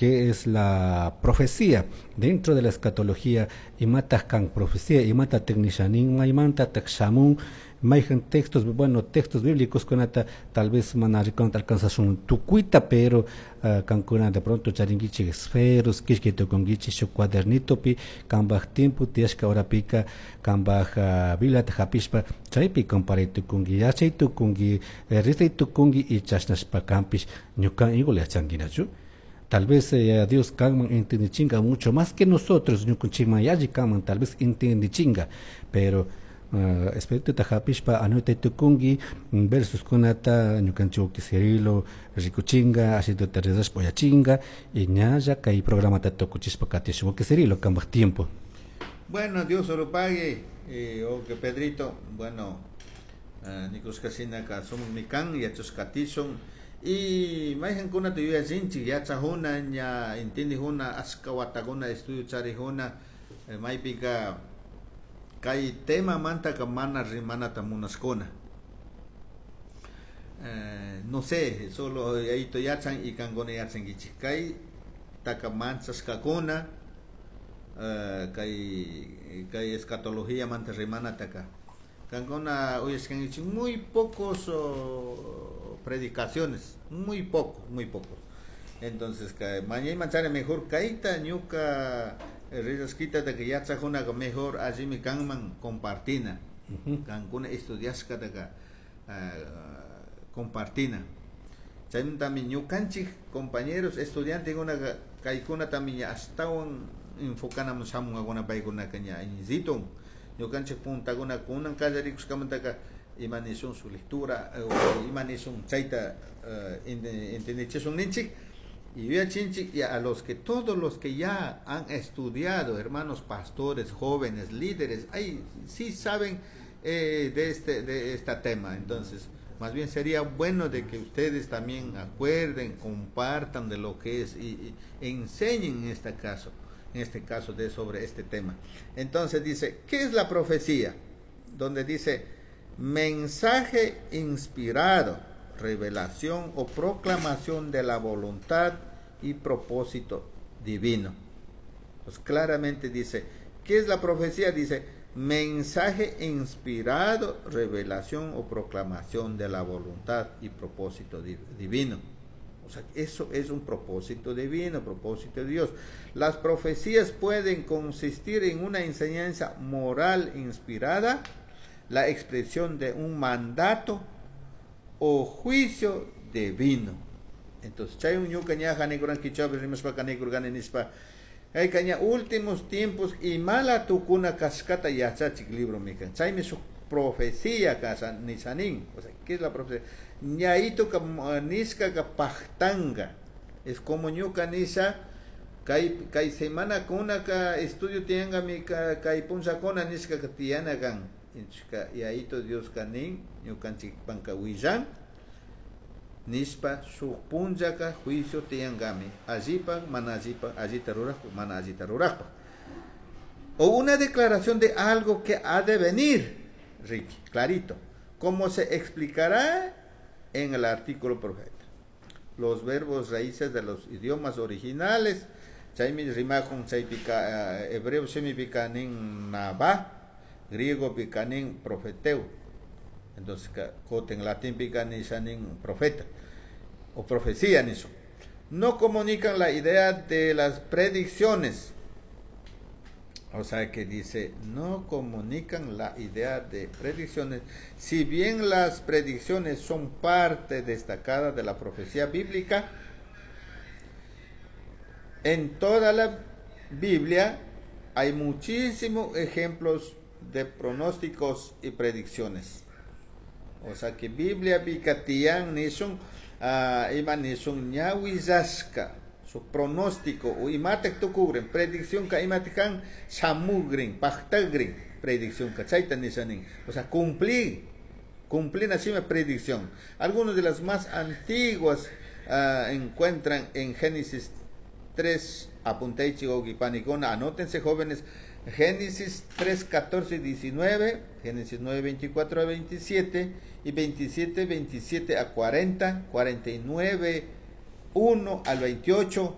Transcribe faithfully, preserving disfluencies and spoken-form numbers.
Qué es la profecía dentro de la escatología, imataj kan profecía, imatataj nisha nin, maymantataj shamun, mayhan textos, bueno, textos bíblicos kunata tal vez mana rikunata alcanzashun tukuyta, pero uh, kankuna de pronto charinkichik esferos, killkay tukunkichik shuk cuadernitopi, kambaj tiempo tiyashka horapika, kambaj uh, Bibliata hapishpa, chaypi comparay tukunki, yachay tukunki, rezay tukunki y chashnashpa kampish ñuka igual yachankinachu. Tal vez eh, Dios kanman entendichinga mucho más que nosotros, ñukunchikman yalli kanman tal vez entendichinga, pero uh, espirituta hapishpa anotay tukunki versos kunata ñukanchik Cirilo rikuchinga, ashituta rezashpa uyachinga y ñalla kay programata tukuchishpa katishun. Cirilo, kambaj tiempo. Bueno, Dios lo pague, eh, o que Pedrito, bueno, uh, nikushka sumaqmi kan, yachashkatishun y mayqankuna yuyachinchik yachajuna ña entendijuna ashka watakuna estudio charijuna, eh, maypika kay temamantaka mana rimanata munashkuna. Eh, no sé, solo yayito yachan y kankuna yachankichik kay taka manchashkakuna, uh, kay kay escatología manta rimanataka kankuna uyashkankichik muy pocos oh, predicaciones, muy poco, muy poco. Entonces, mañana manchare mejor kaita ñuka rillasquita que yachajuna mejor allimi kanman compartina. Kankuna estudiashkataka uh, compartina. Chaymantami ñukanchik compañeros estudiantekuna kaykuna también ashtawan enfocanamun shamunkakuna paykunaka ña iñisitun ñukanchik puntakuna kunan kallarikushkamantaka ima nishun su lectura o ima nishun chayta uh, entendichishun ninchik y yuyachinchik y a los que todos los que ya han estudiado, hermanos pastores, jóvenes, líderes, ahí sí saben eh, de este de este tema. Entonces, más bien sería bueno de que ustedes también acuerden, compartan de lo que es y, y enseñen en este caso, en este caso de sobre este tema. Entonces dice, ¿qué es la profecía? Donde dice mensaje inspirado, revelación o proclamación de la voluntad y propósito divino. Pues claramente dice, ¿qué es la profecía? Dice, mensaje inspirado, revelación o proclamación de la voluntad y propósito divino. O sea, eso es un propósito divino, propósito de Dios. Las profecías pueden consistir en una enseñanza moral inspirada, la expresión de un mandato o juicio divino. Entonces, chay ñuka ñaja nikuran kichapi rimashpaka nikurkani nishpa kayka ña últimos tiempos imala tukuna kashkata yachachik libro mikan. Chaymi shuk profecía kasha nishanin. O sea, ¿qué es la profecía? Ñaito ka nishka ka paktanga. Es como ñuka nisha kay kay semana kuna ka estudio tianga mi ka kay punllakuna nishka ka tiyana kan. Inchka yaito Dios kanin ñukanchik panka willan nishpa shuk punllaka juicio tiyangami allipa mana allipa allita rurajpa mana allita rurajpa. O una declaración de algo que ha de venir, Ricky, clarito, como se explicará en el artículo profeta. Los verbos raíces de los idiomas originales, chaymi rimakun chaypika hebreo shimipika nin nabá, griego pika nin profeteu. Entonces, en latín pika nin profeta o profecía niso. No comunican la idea de las predicciones. O sea que dice, no comunican la idea de predicciones. Si bien las predicciones son parte destacada de la profecía bíblica, en toda la Biblia hay muchísimos ejemplos de pronósticos y predicciones. O sea que Biblia bikatian nishun uh, ima nishun ñawillashka su pronóstico o imatek tukugrin predicción ka imatekan shamugrin paktagrin predicción ka chayta nishanin. O sea, cumplir cumplir así una predicción. Algunas de las más antiguas uh, encuentran en Génesis tres, apunteichi panicona, anótense jóvenes, Génesis tres, catorce y diecinueve, Génesis nueve, veinticuatro a veintisiete y veintisiete, veintisiete a cuarenta, cuarenta y nueve, uno al veintiocho,